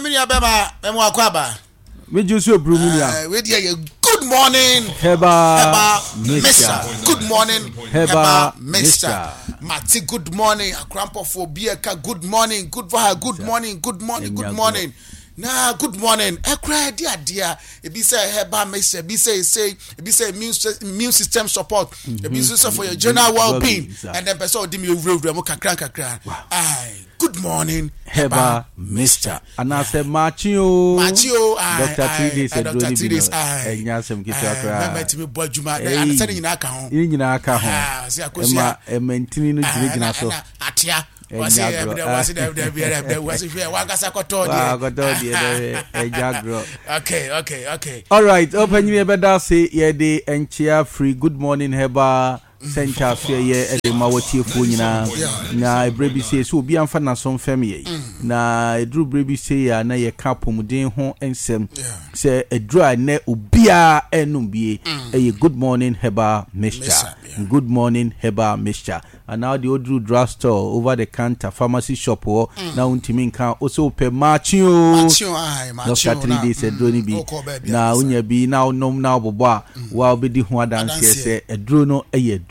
Me nua bɛma mɛmo akɔ aba. Megye so eburu mu nua. Wei deɛ yɛ good morning. Herbal mixture. Good morning. Herbal mixture. Mate good morning akorampɔfoɔ bi ɛka good morning good for her good morning good morning good morning. Na good morning ɛkora ɛde adeɛ a ebi sɛ herbal mixture ebi sɛ ese ebi sɛ immune system support ebi nso sɛ for your general well being ɛnna mpɛ sɛ ɔde mi ewurawura mu kakra nkakra. Aye. Good morning herbal mixture anaasɛ maakye o maakye o Doctor 3 days aduro no bi no ɛnyɛ asɛm ketewa koraa mɛmɛ tumi bɔ adwuma sɛ ne nyinaa ka ho ne nyinaa ka ho ɛma ɛma ntini no gyinagyina so atea wɔsi ɛbdɛ wɔsi dɛbdɛ dɛbdɛ wɔsi hwɛ wankasa kɔtɔ deɛ kɔtɔ deɛ dɛbɛ ɛnyɛ agorɔ okay. Alright ɔpanyin yɛbɛda ase yɛde nkyea firi good morning herbal Sɛ nkyɛaseɛ yɛ de ma w'atiefoɔ nyinaa, na ɛberɛ bi sei sɛ obiara mfa n'aso mfɛm yɛn, na ɛduru berɛ bi sei a na yɛka apɔmuden ho nsɛm sɛ aduru a ɛnnɛ obiara ɛrenom bie ɛyɛ Good Morning Herbal Mixture, Good Morning Herbal Mixture, anaa wodeɛ woduru drug store, over the counter, pharmacy shop hɔ na wontumi nka wo sɛ wopɛ Makye o, Doctor 3 days aduro no bi na wonya bi na wonom na wobobɔ a wo a wobɛdi ho adanseɛ sɛ aduro no yɛ aduro.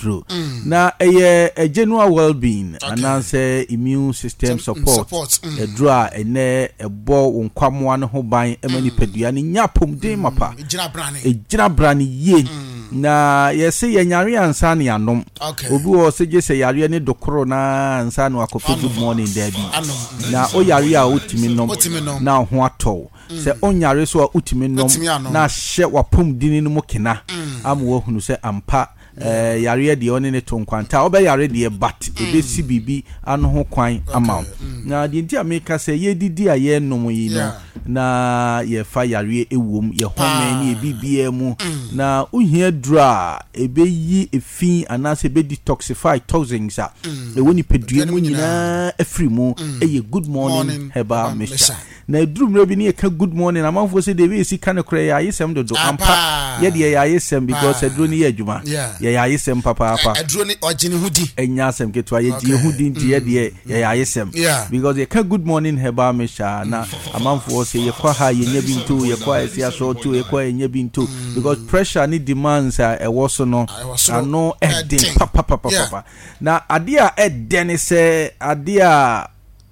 Na ɛyɛ general well-being anaasɛ immune system support aduro a ɛnɛ ɛbɔ wo nkwammoa no ho ban ma nipadua no nya apɔmuden mapa. Ɛgyina brane yie. Na yɛse yɛnyare ansa na yɛanom. Obi wɔ hɔ sɛ gye sɛ yareɛ ne dokoro no ara ansa na wakɔpɛ good morning, daabi. Na woyare a wotumi nom na wo ho atɔ wo. Sɛ onyare so a wotumi nom na ahyɛ w'apɔmudini no mu kena ama woahunu sɛ ampa yareɛ deɛ ɔne ne to nkwanta a wobɛyare deɛ but ɛbɛsi biribi ano ho kwan ama wo. Na deɛ nti a meka sɛ yɛdidi a yɛnom yi no na yɛfa yareɛ ɛwom, yɛ home ne yɛ biribiara mu na wohia duro a ɛbɛyi efi anaasɛ ɛbɛ detoxify toxins a ɛwɔ nipadua mu nyinaa afiri mu ɛyɛ Good Morning Herbal Mixture. Na ɛduru mmerɛ bi ne yɛka good morning amanfoɔ sɛ deɛ ɛbɛyɛ sika no korɛ yɛ ayesɛm dodo ampa yɛ deɛ yɛ ayesɛm because aduro no yɛ adwuma yɛyɛ ayesɛm papaapa aduro no ɔgye ne ho di ɛnyɛ asɛm ketewa yɛgye yɛ ho di nti yɛ deɛ yɛyɛ ayesɛm because yɛka good morning herbal mixture na amanfoɔ sɛ yɛkɔ ha yɛnya bi nto yɛkɔ a ɛsi asɔɔto yɛkɔ a yɛnya bi nto because pressure ne demands a ɛwɔ so no ano ɛden papapapapa na adeɛ a ɛdɛ ne sɛ adeɛ a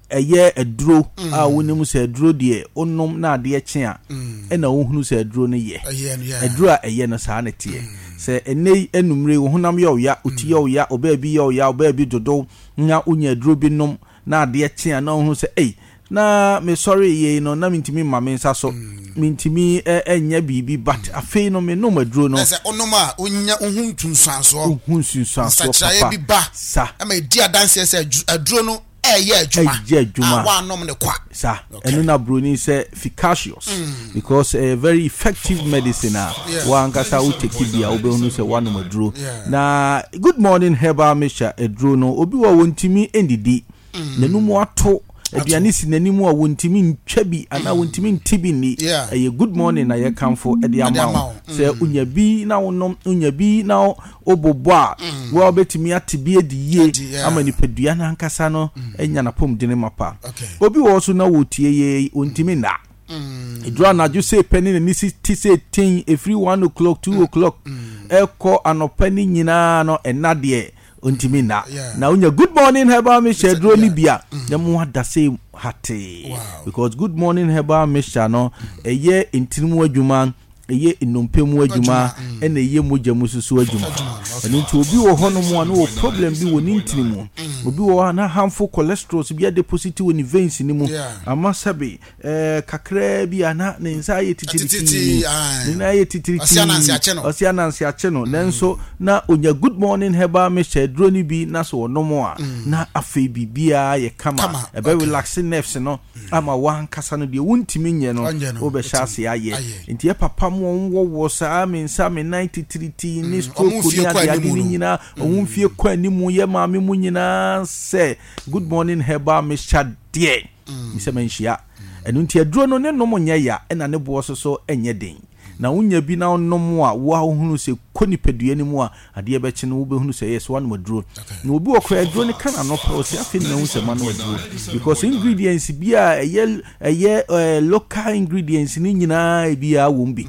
Ɛyɛ aduro a wonim sɛ aduro deɛ wonom na adeɛ kye a ɛna wohunu sɛ aduro no yɛ. Aduro a ɛyɛ no saa na ɛteɛ. Sɛ ɛnnɛ yi anumere yi wo honam yɛ wo ya, wo ti yɛ wo ya, wo baabi yɛ wo ya, wo baabi dodo na wonya aduro bi nom na adeɛ kye a na wohunu sɛ ei na mesɔree yei no na mentumi mma me nsa so, mentumi nyɛ biribi but afei no menom aduro no. Na sɛ wonom a wonya wohu nsunsuansoɔ. Wohu nsunsuansoɔ papa. Nsakyeraeɛ bi ba. Sa. Ɛma ɛdi adanseɛ sɛ aduro no ɛyɛ adwuma. Ɛyɛ adwuma. A wɔanom no kwa. Sa. Ɛno na broni sɛ efficacious mm. because ɛyɛ very effective medicine a wankasa wo take bi a wobɛhunu sɛ woanom aduro. Na good morning herbal mixture aduro no obi wɔ wɔntumi ndidi. Mm. N'anum ato aduane si n'anim a wɔntumi ntwa bi anaa mm. wɔntumi nte bi nni. Ɛyɛ good morning na yɛkamfo de ama wo sɛ mm. wonya bi na wonom wonya bi na wobobɔ a, wo a wobɛtumi ate bi adi yie ama nipadua no ankasa no anya n'apɔmuden mapa. Obi wɔ hɔ so na wɔtie yei, ɔntumi nna. Ɛduru anadwo sei pɛ ne n'ani si te sɛ ten, ɛfiri 1 o'clock, 2 o'clock ɛkɔ anɔpa no nyinaa no, ɛnna deɛ ɔntumi nna. Na wonya good morning herbal mixture aduro no bi a, na mu ada sei hatee. Because good morning herbal mixture no, ɛyɛ ntini mu adwuma, ɛyɛ nnompe mu adwuma ɛna ɛyɛ mogya mu nso adwuma. Ɛno nti obi wɔ hɔnom a na wɔ problem bi wɔ ne ntini mu. Obi wɔ hɔ a na harmful cholesterol bi adeposit wɔ ne veins no mu. Ama sɛbe ɛɛ kakraa bi a na ne nsa ayɛ titiritii, ne nan ayɛ titiritii, ɔsi ananse akye no. Nanso na onya good morning herbal mixture aduro no bi na so ɔnom a na afei biribiara yɛ kama. Ɛbɛ relax nerves no. ama w'ankasa no deɛ wontumi nyɛ no wobɛhyɛ ase ayɛ. Nti yɛ papa mo wɔn wɔwɔ saa me nsa me nan titiritii ne stroke ne adeade ne nyinaa wɔn mfie kɔ anim yɛ maame mu nyinaa sɛ good morning herbal mixture deɛ sɛ manhyia ɛno nti aduro no ne nom nyɛ ya ɛna ne boɔ so so nyɛ den na wonya bi na wonom a wo a wohunu sɛ. Ɛkɔ nipadua no mu a, adeɛ bɛkye no wobɛhunu sɛ yes woanom aduro. Na obi wɔ koraa aduro no ka n'ano pɛ ɔse afei na mahu sɛ manom aduro because ingredients bi a ɛyɛ ɛyɛ local ingredients no nyinaa ebiara wɔ mu bi.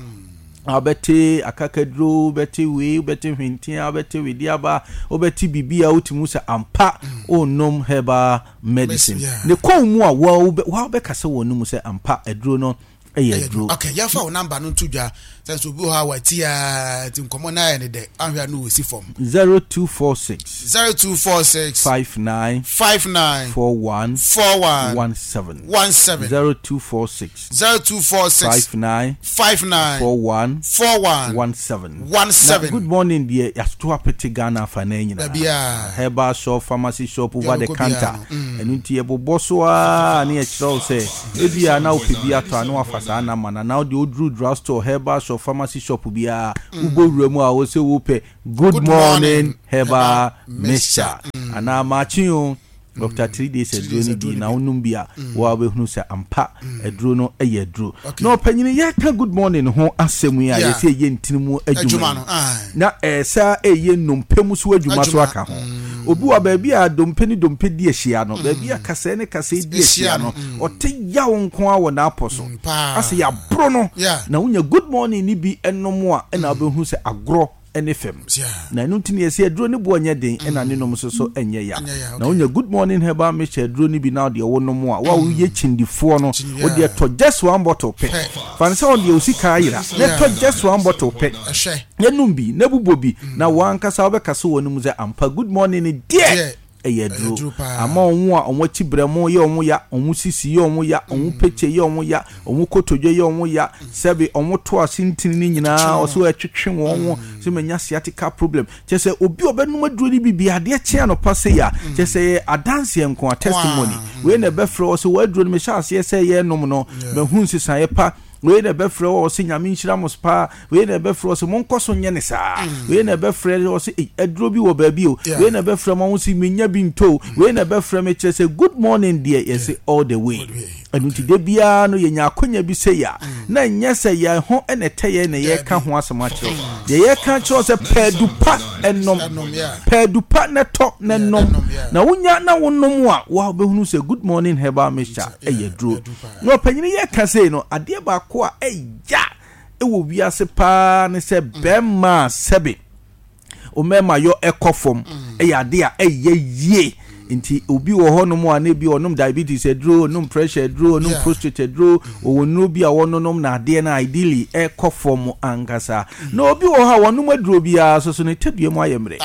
Wobɛte akakaduro, wobɛte wei, wobɛte hwentea, wobɛte wedeaba, wobɛte biribi a wotumi hu sɛ ampa wonom herbal medicine. Ne kɔn mu a wobɛkasa wɔ no mu sɛ ampa aduro no yɛ aduro. Ok, yɛmfa wo number no nto dwa sɛ nso obi wɔ hɔ a wati a nti nkɔmmɔ no ayɛ ne dɛ ahwɛ a no wɔsi fam. 0246. 0246. 59. 59. 41. 41. 17. 17. 0246. 0246. 59. 59. 41. 41. 17. 17. Na good morning deɛ yɛato apete Ghana afa no nyinaa. Baabiara. Herbal shop, pharmacy shop, over the Yɛbɛkɔ counter. biara no. Ɛno nti yɛbobɔ so ara ne yɛkyerɛ wo sɛ ebia na wopɛ bi atɔ a na wafa saa number no anaa wode woduru drug store, herbal shop, pharmacy shop biara wobɔ wura mu a wo sɛ wopɛ good morning herbal mixture anaa makye o Dr. 3 days aduro no bi na wonom bi a wo a wobɛhunu sɛ ampa aduro no yɛ aduro. Na ɔpanyini yɛka good morning ho asɛm yi a yɛsɛ ɛyɛ ntini mu adwuma yi na ɛsɛ ɛyɛ nnompe mu so adwuma so aka ho. Obi wɔ baabi a dompe ne dompe di ahyia no, baabi a kasɛɛ ne kasɛɛ di ahyia no, ɔte yaw nko ara wɔ n'apɔ so. Asɛ yɛaboro no, na wonya good morning no bi nom a, ɛna wobɛhu sɛ agorɔ ne fam. Na ɛno nti na yɛsɛ aduro no boɔ nyɛ den, ɛna ne nom nso so nyɛ ya. Na wonya good morning herbal mixture aduro no bi na wodeɛ wonom a, wo a woyɛ kyindifoɔ no, wodeɛ tɔ just one bottle pɛ. Fa no sɛ wodeɛ wo sika ayera, na tɔ just one bottle pɛ. Na nom bi, na bobɔ bi, na wo ankasa wobɛkasa wɔ no mu sɛ, Ampa, good morning no deɛ, ɛyɛ aduro. Ama wɔn a wɔn akyi berɛmo yɛ wɔn ya, wɔn sisi yɛ wɔn ya, wɔn pekye yɛ wɔn ya, wɔn kotodwe yɛ wɔn ya, sɛbe wɔn to ase ntini no nyinaa, ɔsɛ ɛtwetwe wɔn ho, sɛ manya sciatica problem. Kyerɛ sɛ obi a ɔbɛnom aduro no bi bi adeɛ kye anɔpa sei a, kyerɛ sɛ ɛyɛ adanseɛ nko a, testimony. Wei na ɛbɛfrɛ wɔ sɛ wɔ aduro no mehyɛ aseɛ sɛ yɛrenom no, mahu nsesaeɛ pa. Wei na ɛbɛfrɛ wɔ sɛ Nyame nhyira mo paa. Wei na ɛbɛfrɛ wɔ sɛ monkɔ so nyɛ ne saa. Wei na ɛbɛfrɛ wɔ sɛ ei aduro bi wɔ baabi o. Wei na ɛbɛfrɛ mo sɛ menya bi ntɔ o. Wei na ɛbɛfrɛ me kyerɛ sɛ good morning deɛ yɛse all the way. Ɛno nti da biara no yɛnya akonya bi sei a na ɛnyɛ sɛ yɛn ho na ɛtɛ yɛn na yɛreka ho asɛm akyerɛ wo. Deɛ yɛreka akyerɛ wo sɛ pɛ adu pa nom. Pɛ adu pa na tɔ na nom. Na wonya na wonom a wo a wobɛhunu sɛ good morning herbal mixture ɛyɛ aduro. Na ɔpanyin yi reka sei no, adeɛ baako a ɛya wɔ wiase paa ne sɛ bɛrima a sɛbe mmarima yɔ ɛkɔ fam ɛyɛ adeɛ a ɛyɛ yie. Nti obi wɔ hɔnom a na ebi ɔnom diabetes aduro, ɔnom pressure aduro, ɔnom prostate aduro, ɔwɔ nnuro bi a wɔnonom na adeɛ no ideally ɛkɔ fam ankasa. Na obi wɔ hɔ a wɔnom aduro biara nso so ne tadua mu ayɛ mmerɛ.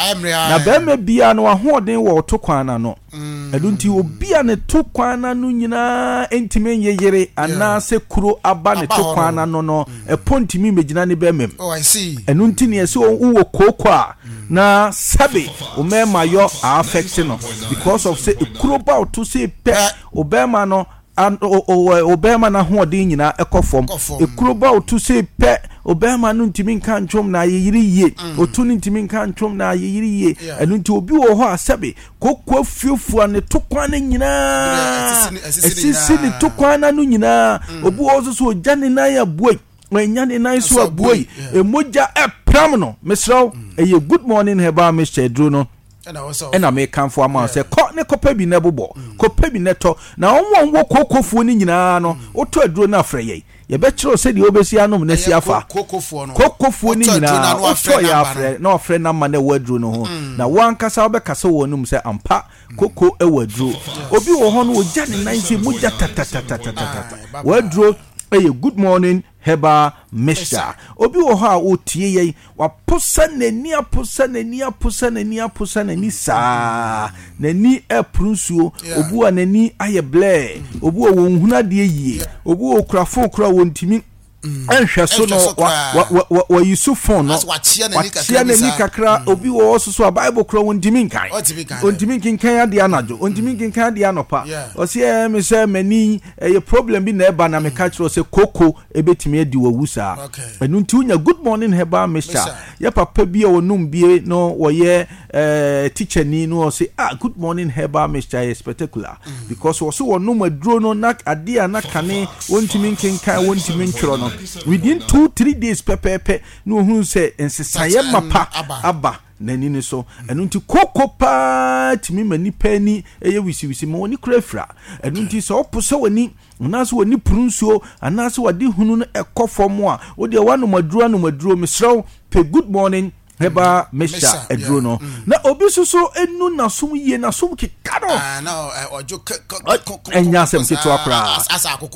Na barima biara no ahoɔden wɔ ɔto kwan no ano. Ɛno nti obi a ne to kwan no ano nyinaa ntumi nyeyere anaasɛ kuro aba ne to kwan no ano no, ɛpɔ ntumi mmɛgyina ne bɛrima mu. Oh, Ɛno nti neɛ sɛ wowɔ kooko a na sɛbe wo mmarima yɔ affect no because of sɛ ekuro ba wo to sɛ pɛ wo bɛrima no ɔbarima no ahoɔden nyinaa ɛkɔ fam. Ekuro ba otu sei pɛ, ɔbarima no ntumi nka ntwom na ayeyere yie. Mm. Otu no ntumi nka ntwom na ayeyere yie. Ɛno nti obi wɔ hɔ a sɛbe koko afuafua ne to kwan no nyinaa, esisi ne to kwan no ano nyinaa. Mm. Obi wɔ hɔ nso so ogya ne nan abuei. Wanya ne nan so abuei. Emogya ɛpram no. Mesrɛ wo, mm. ɛyɛ good morning herbal mixture aduro no. Ɛna mekamfo ama wo sɛ kɔ ne kɔpɛ bi na bobɔ, mm. kɔpɛ bi na tɔ. Na wɔn a wɔwɔ kookofoɔ no nyinaa no, mm. wotɔ aduro no afrɛ yɛn. Yɛbɛkyerɛ wo sɛdeɛ wobɛsi anom na si afa. Kookofoɔ no nyinaa wotɔ yɛ afrɛ na wafrɛ namba na ɛwɔ aduro no ho. Mm. Na wo ankasa wobɛkasa wɔ anum sɛ ampa koko wɔ aduro. Obi wɔ hɔ no ogya ne nan sɛ mogya tatatatatata. Wɔ aduro ɛyɛ good morning herbal mixture. Obi wɔ hɔ a ɔtie yɛn, waposa n'ani aposa n'ani aposa n'ani aposa n'ani saa. N'ani ɛporo nsuo. Obi wɔ n'ani ayɛ blɛɛ. Obi wɔ wɔn hunu adeɛ yie. Obi wɔ okura fon kura wɔn ntumi nhwɛ so no wɔyi so fon no. Wakyea n'ani kakra. Obi wɔ hɔ soso a Bible kura wɔn ntumi nkan. Ɔntumi nkenkan adeɛ anadwo. Ɔntumi nkenkan adeɛ anɔpa. Ɔsi ɛɛ mi sɛ m'ani Ɛyɛ problem bi na ɛba na meka kyerɛ wo sɛ koko ɛbɛtumi adi wawu saa. Ɛno nti wonya good morning herbal mixture. Yɛ papa bi a ɔnom bie no wɔyɛ eh, teacher ni no ɔse ah good morning herbal mixture yɛ spectacular mm. because wɔse wɔnom aduro no na adeɛ a na kane wɔntumi nkenkan wɔntumi ntwerɛ no. no, within 2, 3 days pɛpɛɛpɛ na ohun sɛ nsesaeɛ mapa aba n'ani no so. Ɛno nti koko paa tumi ma nipa ani ɛyɛ wisiwisi ma wɔn kura afira. Ɛno nti sɛ ɔpo sɛ w'ani anaasɛ w'ani puru nsuo anaasɛ w'ade hunu no ɛkɔ fam a, wodeɛ woanom aduro, anom aduro, mesrɛ pɛ Good Morning Herbal Mixture aduro no. Na obi nso so enu n'asom yie, n'asom keka no. Ɛnyɛ asɛm ketewa koraa.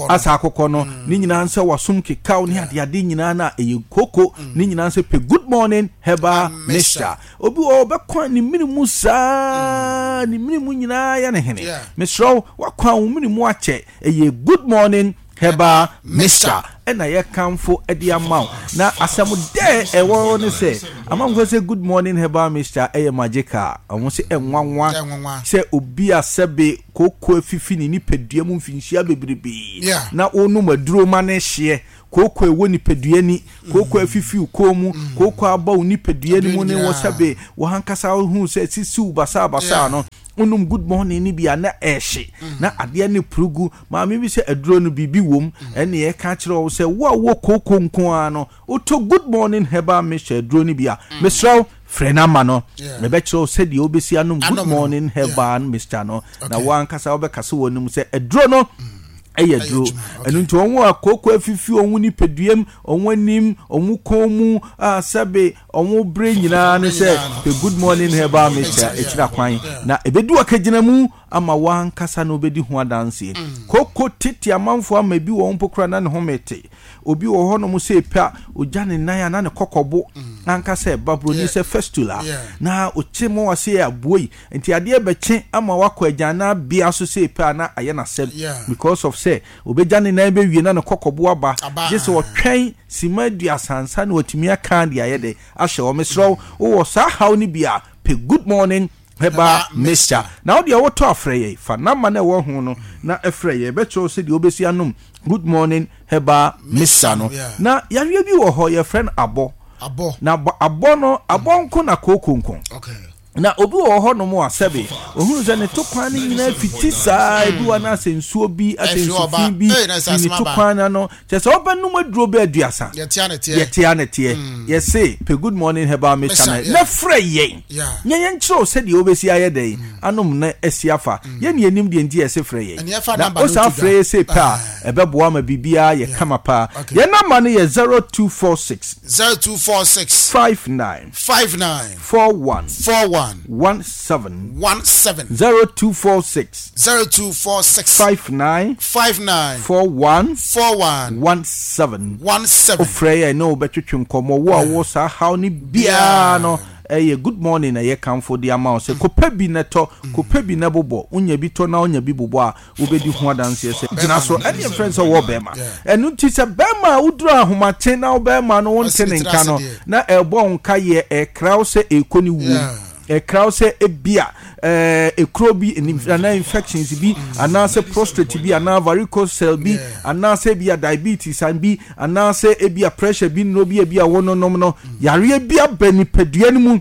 Asa akokɔ no ne nyinaa nsɛ wasom kekaw ne adeade nyinaa na ɛyɛ koko ne nyinaa nsɛ pɛ Good Morning Herbal Mixture. Obi wɔ ɔbɛkwan ne mene mu saa, ne mene mu nyinaa yɛ ne hene. Mesrɛ wo, wakwan wo mene mu akyɛ, ɛyɛ Good Morning Herbal Mixture ɛna yɛkamfo de ama wo. Na asɛm dɛ ɛwɔ ne sɛ amanfoɔ sɛ Good Morning Herbal Mixture ɛyɛ magical. Ɔmo sɛ ɛnwanwa sɛ obi a sɛbe kooko afifi ne nipadua mu mfinhyia bebrebee na wonom aduro ma ne hyeɛ kooko ɛwɔ nipadua ni, kooko afifi wo kɔn mu, kooko aba wo nipadua no mu ne wɔ sɛbe wɔankasa hu sɛ sisiw basaabasaa no, wonom Good Morning no bi a na ɛhye na adeɛ ne purugu. Maame bi sɛ aduro no biribi wom. Ɛne ɛka kyerɛ wo sɛ wo a wowɔ kooko nko ara no, wotɔ Good Morning Herbal Mixture aduro no bi a, mesrɛ wo, frɛ no ama no, mebɛkyerɛ wo sɛdeɛ wobɛsi anom Good Morning Herbal Mixture no, na wo ankasa wobɛkasa wɔ no mu sɛ aduro no ɛyɛ aduro. Ɛno nti wɔn a kooko afifi wɔn nipaduam, wɔn anim, wɔn kɔn mu a sɛbe wɔn bere nyinaa ne sɛ pɛ Good Morning Herbal Mixture akyira kwan, na ɛbɛdu akagyina mu ama w'ankasa na wobɛdi ho adanseɛ. Koko tete amanfoɔ ama ebi wɔ mpo koraa na ne home te. Obi wɔ hɔnom sɛ epe a ogya ne nan a na ne kɔkɔbo ankasa ɛba, buroni sɛ fistula, na ɔkye ma wase yɛ aboa yi nti adeɛ bɛkye ama wakɔ agyannan bea so sɛ epe a na ayɛ n'asɛm because of sɛ obɛgya ne nan bɛwie na ne kɔkɔbo aba, gye sɛ ɔtwɛn sima 30 ansa na watumi aka de ayɛ dɛ ahyɛ hɔ. Mesrɛ wo, wowɔ saa haw no bi a, pɛ Good Morning Herbal Mixture na wo deɛ wotɔ afrɛ yɛn. Fa number no ɛwɔ ho no na ɛfrɛ yɛn, ɛbɛkyerɛ wo sɛdeɛ wobɛsi anom Good Morning Herbal Mixture no. Na yareɛ bi wɔ hɔ yɛfrɛ no abɔ. Na abɔ no, abɔ nko na kooko nko. Na obi wɔ hɔ nom a sɛbe ohunu sɛ ne to kwan no nyinaa fiti saa, ebi wɔ anaasɛ nsuo bi asɛ nsufi bi fi ne to kwan no ano, kyerɛ sɛ wobɛnom aduro bɛ 30, yɛtea ne teɛ. Yɛse pɛ Good Morning Herbal Mixture no na frɛ yɛn nyɛ yɛn kyerɛ wo sɛdeɛ wobɛsi ayɛ dɛn anom na asi afa. Yɛn ne yɛnim deɛ nti yɛse frɛ yɛn, na wosan frɛ yɛ sei pɛ a, ɛbɛboa ma biribiara yɛ kama paa. Yɛn number no yɛ 0246 0246 59 59 41 41 17. 17. 0246 0246 59 59 41 41 17. 17. Wofrɛ yɛn ne wobɛtwetwe nkɔmmɔ. Wo a wowɔ saa haw no biara no, ɛyɛ Good Morning na ɛyɛ kamfo de ama wo sɛ kɔpɛ bi na tɔ, kɔpɛ bi na bobɔ. Wonya bi tɔ na wonya bi bobɔ a, wobɛdi ho adanseɛ sɛ gyina so. Ɛne ɛfrɛ no sɛ wɔ bɛrima. Ɛno nti sɛ bɛrima a woduru ahomakye na wo bɛrima no wonte ne nka no na ɛrebɔ wo nka yɛ, ɛkra wo sɛ ɛrekɔ ne wuom, ɛkra wo sɛ ebia ekuro bi anaa infections bi anaasɛ prostate bi anaa varicocele bi anaasɛ ebia diabetes bi anaasɛ ebia pressure bi nnuro bi ebia wɔnonom no, yareɛ bi aba nipadua no mu,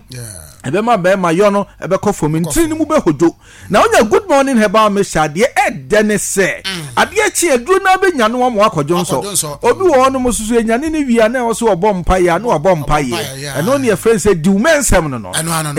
ɛbɛma bɛrima yɔ no ɛbɛkɔ fam, ntiri no mu bɛhodwo. Na wonya Good Morning Herbal Mixture adeɛ ɛdɛ ne sɛ adeɛ kye aduro no abɛnya no wɔn akɔdwo nsɔ. Obi wɔ hɔnom nso so ɛnyane no wie a na ɛwɔ sɛ ɔbɔ mpaeɛ a na wabɔ mpaeɛ. Ɛno ne yɛfrɛ no sɛ diwmɛnsɛm no.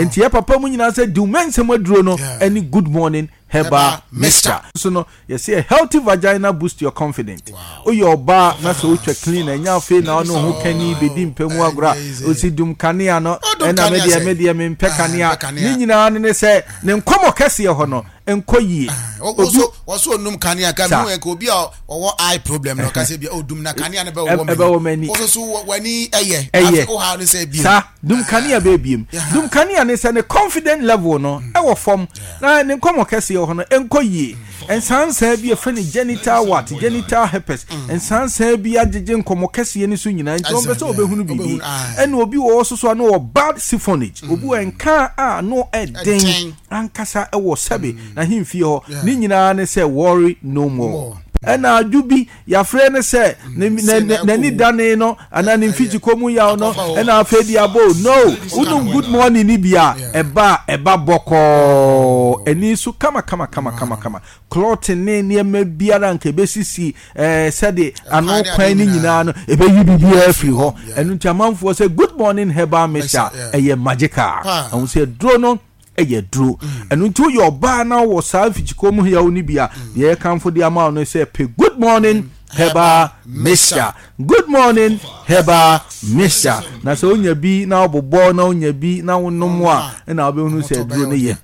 Nti yɛ papa mu nyinaa sɛ diwmɛnsɛm aduro no ɛne Good Morning Herbal Mixture. So no yɛsɛ a healthy vagina boost your confidence. Woyɛ ɔbaa na sɛ wotwa clean ɛnyɛ afei na ɔne ho kani bɛdi mpɛ mu agorɔ a ɔsi dum kanea no, ɛna medeɛ medeɛ mempɛ kanea ne nyinaa no ne sɛ ne nkɔmmɔ kɛseɛ hɔ no nkɔ yie. Obi wɔso onum kanea ka mu nka obi a ɔwɔ eye problem no kase bi odum na kanea no bɛwɔ m'ani, wɔso so w'ani ɛyɛ ɛyɛ wo ha ne sɛ biem saa dum kanea bɛɛ biem dum kanea ne sɛ ne confident level no ɛwɔ fam na ne nkɔmmɔ kɛseɛ hɔ no nkɔ yie. Nsansan bi efrɛ no genital wart, genital herpes, nsansan bi agyegye nkɔmmɔ kɛseɛ no so nyinaa nti wɔn pɛ sɛ wɔbɛhunu biribi. Ɛna obi wɔ hɔ soso a no wɔ bad siphonage, obi wɔ nka a no ɛden ankasa ɛwɔ sɛbe n'ahemfie hɔ, ne nyinaa ne sɛ worry no more. Ɛna adwo bi yɛafrɛ no sɛ n'ani dane no anaa ne mfikyikɔ mu yaw no, ɛna afei de abɔ no, wonom Good Morning ni bi a ɛba a ɛba bɔkɔɔ. Ani so kama kama kama kama kama. Clotting ne nneɛma biara nka ɛbɛsisi ɛɛ sɛde ano kwan ne nyinaa no ɛbɛyi biribiara afiri hɔ. Ɛno nti amanfoɔ sɛ Good Morning Herbal Mixture ɛyɛ magical. Ɛho sɛ aduro no ɛyɛ aduro. Ɛno nti woyɛ ɔbaa na wɔ saa mfikyikɔ mu yaw no bi a, deɛ yɛkamfo de ama wo no sɛ pɛ Good Morning Herbal Mixture. Good Morning Herbal Mixture. Na sɛ wonya bi na wobobɔ na wonya bi na wonom a, ɛna wobɛhunu sɛ aduro no yɛ.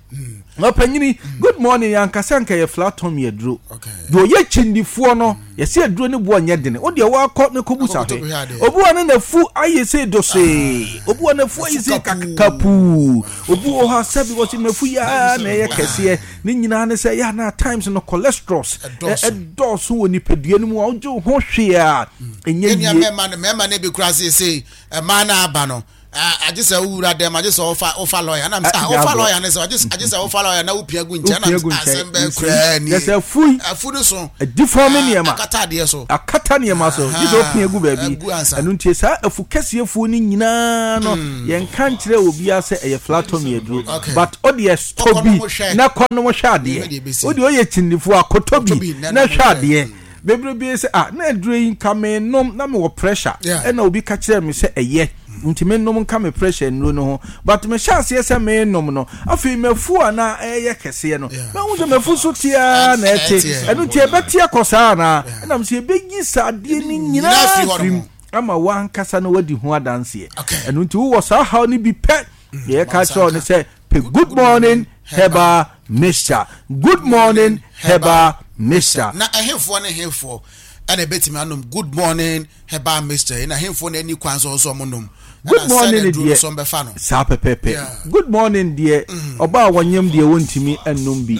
Ɔpanyini, good morning, yɛankasa nka yɛ flat tummy aduro. Deɛ ɔyɛ kyindifoɔ no, yɛsɛ aduro no boɔ nyɛ dene. Wo deɛ woakɔ ne kɔbu sa hwɛ. Obi wɔ no n'afu ayɛ sɛ dosee. Obi wɔ n'afu ayɛ sɛ kakapuu. Obi wɔ hɔ a sɛbi wɔsi m'afu yi ara na ɛyɛ kɛseɛ. Ne nyinaa ne sɛ yɛ na times no cholesterols ɛdɔɔso wɔ nipadua no mu a wogye wo ho hwee a ɛnyɛ yie. Mmarima no bi kura seesei mmaa no aba no agye sɛ wowura dɛm agye sɛ wofa wofa lɔya na ah wofa lɔya ne sɛ agye agye sɛ wofa lɔya na wopia gu nkyɛn na asɛm bɛɛ koraa ni yɛsɛ afui afu no so adifɔm nneɛma akata adeɛ so akata nneɛma so gye sɛ wopia gu baabi ɛno nti saa afu kɛseɛ fuo no nyinaa no hmm. yɛnka nkyerɛ obiara sɛ ɛyɛ flatɔmi aduro but ɔde ɛstɔ bi na kɔ nom hwɛ adeɛ wode ɔyɛ kyindifoɔ akɔtɔ bi na hwɛ adeɛ Bebrebe sɛ ah na aduro yi nka menom na mewɔ pressure ɛna obi ka kyerɛɛ me sɛ ɛyɛ nti menom nka me pressure nnuro no ho but mehyɛ aseɛ sɛ menom no afei mafu a na ɛyɛ kɛseɛ no mahu sɛ mafu so teaa na ɛte ɛno nti ɛbɛte akɔ saa anaa ɛnam sɛ ɛbɛyi saa adeɛ no nyinaa firim ama wankasa no wadi ho adanseɛ ɛno nti wowɔ saa haw no bi pɛ deɛ yɛka kyerɛ wo ne sɛ pɛ Good Morning Herbal Mixture. Good Morning Herbal Mixture. Na ɛhefoɔ ne hefoɔ ɛna ɛbɛtumi anom Good Morning Herbal Mixture yi na hefoɔ na ɛni kwan sɛ ɔsɛ ɔmo nom? Good Morning deɛ saa pɛpɛpɛ. Good Morning deɛ ɔbaa wɔnyem deɛ wɔntumi nnom bi.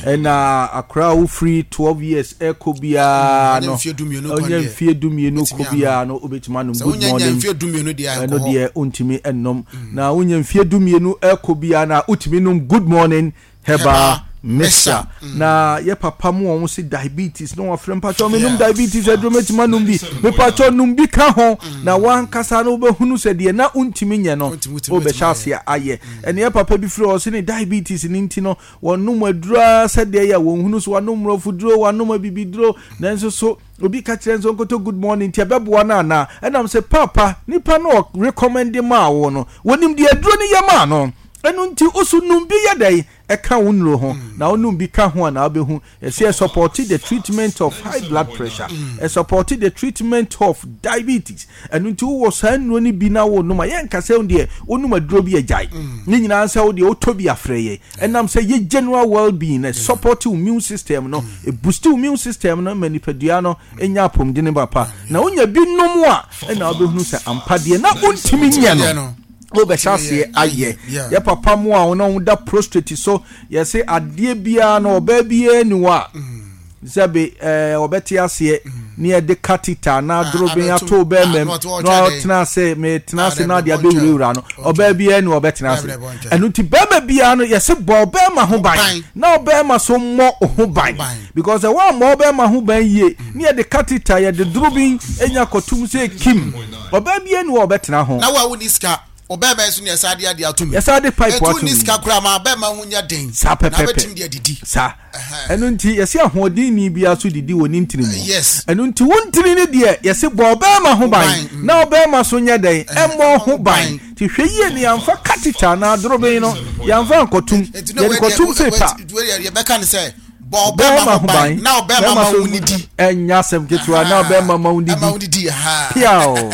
Ɛna akora a wofiri 12 years ɛkɔ biara no ɔnyɛ mfie 12 kɔ biara no wobɛtumi anom Good Morning. Ɛno deɛ wontumi nnom. Na wonya mfie 12 ɛkɔ biara na wotumi nom Good Morning Herbal Mixture. Na yɛ papa mu wɔn se diabetes na wɔafrɛ mpakyɛw menom diabetes aduro mɛtumi anom bi, mepakyɛw nom bi ka ho na wankasa no wobɛhunu sɛ deɛ na wontumi nyɛ no wobɛhyɛ aseɛ ayɛ. Ɛne yɛ papa bi frɛ ɔse ne diabetes no nti no wɔnom aduro ara sɛdeɛ yɛ wɔnhunu so wanom mmorɔfo duro wanom abibiduro nanso so Obi ka kyerɛ no sɛ ɔnkɔtɔ good morning nti ɛbɛboa no anaa? Ɛnam sɛ paapa nipa no ɔ recommend maa wo no, wɔnim deɛ aduro no yɛ maa no. Ɛno nti wo so nom bi yɛ dɛn ɛka wo nnuro ho. Na wo nom bi ka ho a na wobɛhu. Yɛse ɛsupporte the treatment of high blood pressure, ɛsupporte the treatment of diabetes. Ɛno nti wowɔ saa nnuro no bi na wonom a, yɛnka sɛ wo deɛ wonom aduro bi a gyae. Ne nyinaa sɛ wo deɛ wotɔ bi a frɛ yɛn. Ɛnam sɛ yɛ general well being na support wo immune system no, ɛboost wo immune system no ma nipadua no nya apɔmuden papa. Na wonya bi nom a, ɛna wobɛhunu sɛ ampa deɛ na wontumi nyɛ no wobɛhyɛ aseɛ ayɛ. Yɛ papa mo a wɔn a wɔda prostrate so, yɛse adeɛ biara no ɔbaa biara ni hɔ a sɛbe ɛɛ ɔbɛte aseɛ ne yɛde catheter anaa ah, doroben ato bɛrima mu na ɔtena ase metena ase na ade abɛwurawura no ɔbaa biara ni ɔbɛtena ase. Ɛno nti bɛrima biara no yɛse bɔ ɔbɛrima ho ban na ɔbɛrima so mmɔ ho ban because ɛwɔ ammɔ ɔbɛrima ho ban yie ne yɛde catheter yɛde doroben nya kɔtum sɛ kim ɔbaa biara ni ɔbɛtena ho. Na wo a wonni sika Ɔbarima nso ne yɛsan de adeɛ ato mu. Yɛsan de pipe ato mu. Ɛtu ni sika koraa ma ɔbarima ho nyɛ den. Saa pɛpɛpɛ. Na abɛtumi de adidi. Saa. Ɛno nti yɛsi ahoɔden ni biara so didi wɔ ne ntini mu. Yes. Ɛno nti wo ntini no deɛ yɛsi bɔ ɔbarima ho ban. Na ɔbarima so nyɛ dɛn ɛmmɔ ho ban. Ti hwɛ yie no yɛnfa catheter anaa dorobɛn no yɛnfa nkɔtum. Yɛde kɔtum sɛ pa. Yɛbɛka ne sɛ bɔ ɔbɛrima ho ban na ɔbɛrima ma wo nidi. Ɛnyɛ asɛm ketewa na ɔbɛrima ma wo nidi. Piaw.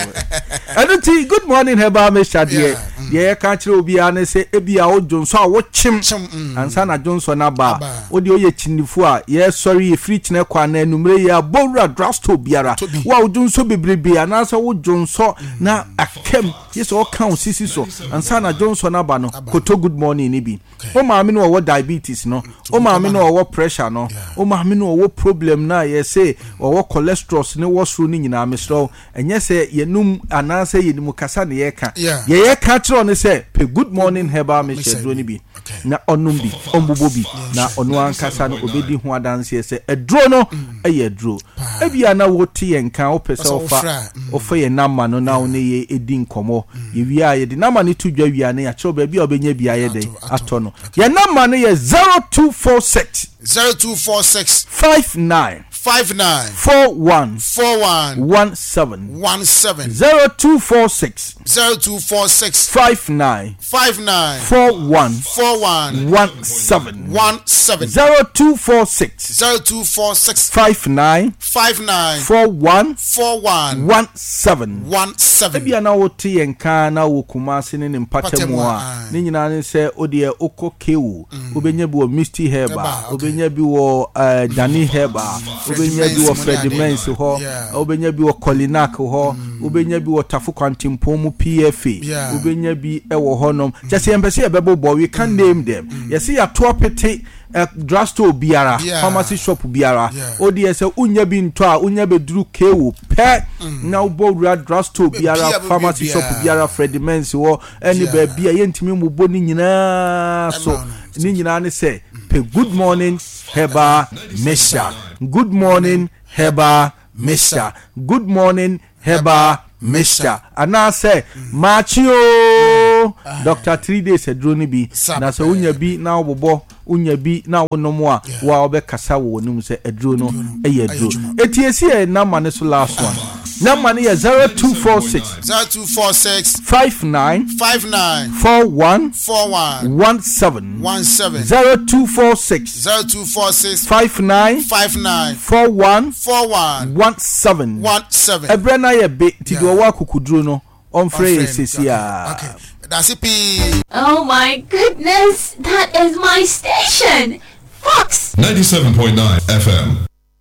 Ɛno nti good morning herbal mixture deɛ mm. deɛ yɛka kyerɛ obiara ne sɛ ebi a wodwo nsɔ a wokyem mm. ansa na dwonsɔ no aba a wode oyɛ kyinifo a yɛsɔre yɛfiri kyinɛ kɔ anaa anumere yɛ abɔ wura drugstore biara wo a wodwo nsɔ bebrebe anaasɛ wodwo nsɔ mm. na akam yɛ sɛ ɔka wo sisi so ansa na dwonsɔ no aba no koto good morning no bi. Wo maame no ɔwɔ diabetes no, wo maame no ɔwɔ pressure no, wo maame no ɔwɔ problem no a yɛse ɔwɔ cholesterols ne wɔ soro no nyinaa, mesrɛ wo, ɛnyɛ sɛ yɛnum anaasɛ yɛnim kasa na yɛka. Deɛ yɛka kyerɛ wo ne sɛ, pɛ Good Morning Herbal Mixture aduro no bi na ɔnom bi, ɔmbobɔ bi, na ɔno ankasa no ɔbɛdi ho adanseɛ sɛ aduro no yɛ aduro. Ebia na wote yɛn nka, wopɛ sɛ wofa wofa yɛn number no na wo ne yɛn di. bɛdi nkɔmmɔ. Yɛwie a, yɛde number no to dwa wie a na yɛakyerɛ wo baabi a wobɛnya bi ayɛ dɛn atɔ no. Yɛn number no yɛ 0246. 0246. 59. 59. 41. 41. 17. 17. 0246. 0246. 59. 59. 41. 41. 17. 17. 0246. 0246. 59. 59. 41. 41. 17. 17. Ebia na wote yɛn nka na wɔ Kumasi ne ne mpatamu a, ne nyinaa ne sɛ wodeɛ wokɔ KO, wobɛnya bi wɔ Misty Herbal, wobɛnya bi wɔ eh, Dani Herbal, wobɛnya bi wɔ Freddie Mens hɔ, wobɛnya bi wɔ Kolinak hɔ, wobɛnya bi wɔ Tafo Kwantempɔn mu PFA, wobɛnya bi wɔ hɔnom. Kyɛ sɛ yɛmpɛ sɛ yɛbɛbobɔ, we can name them. Yɛse yɛato apete eh, drugstore biara, pharmacy shop biara. O deɛ sɛ wonya bi ntɔ a, wonya bɛduru KO pɛ na wobɔ wura drugstore biara, pharmacy shop biara, Freddie Mens hɔ, ɛne baabi a yɛntumi mmobɔ ne nyinaa so. Ne nyinaa ne sɛ pɛ Good Morning Herbal Mixture. Good Morning Herbal Mixture. Good Morning Herbal Mixture. Anaasɛ maakye oo, Doctor 3 Days aduro no bi. Na sɛ wonya bi na wobobɔ, wonya bi na wonom a, wo a wobɛkasa wɔ w'anim sɛ aduro no yɛ aduro. Eti esi yɛ number no so last one. Number no yɛ 0246. 0246. 59. 59. 41. 41. 17. 17. 0246. 0246. 59. 59. 41. 41. 17. 17. Ɛbrɛ no ayɛ be nti deɛ ɔwɔ akokuduro no ɔmfrɛ yɛ sesi a. Okay. That's it. Pii. Oh my goodness, that is my station! Fox! 97.9 FM.